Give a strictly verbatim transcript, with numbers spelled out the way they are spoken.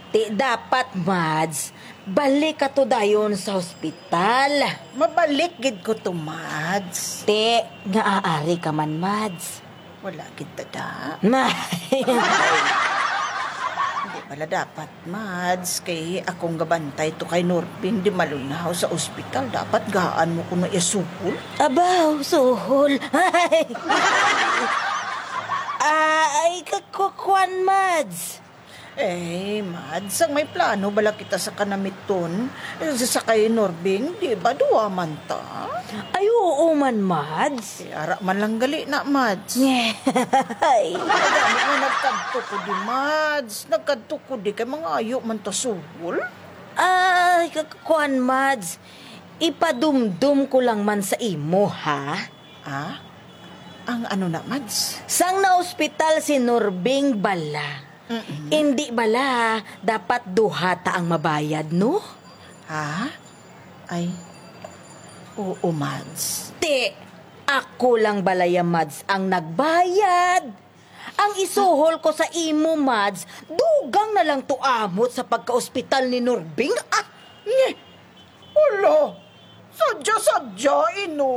Ti dapat, Mads, balik ka to dayon sa hospital. Mabalik gid ko to, Mads. Ti, nga aari ka man, Mads. Wala gid tada. Ma- Hindi pala dapat, Mads, kay akong gabantay to kay Norbing di malunaw sa ospital. Dapat gaan mo kuno iya suhol. Abaw, suhol. Ay, kakukwan, Mads. Eh, Mads, ang may plano bala kita sa kanamiton, eh, sa kay Norbing, di ba duwa man ta? Ay, oo man, Mads. Eh, ara man lang gali na, Mads. Ay. Ay, gani nga nagkadto ko di, Mads. Nagkadto ko di kay mangayo man ta suhol. Ay, kakuan, Mads. Ipadumdum ko lang man sa imo, ha? Ah? Ang ano na, Mads? Sang naospital si Norbing bala? Mm-mm. Indi bala, dapat duha ta ang mabayad, no? Ha? Ay, oo, Mads. Ti, ako lang balaya, Mads, ang nagbayad. Ang isuhol ko sa imo, Mads, dugang na lang tuamot sa pagkaospital ni Norbing. Ah! Nye! Hala! Sadya-sadya, ino!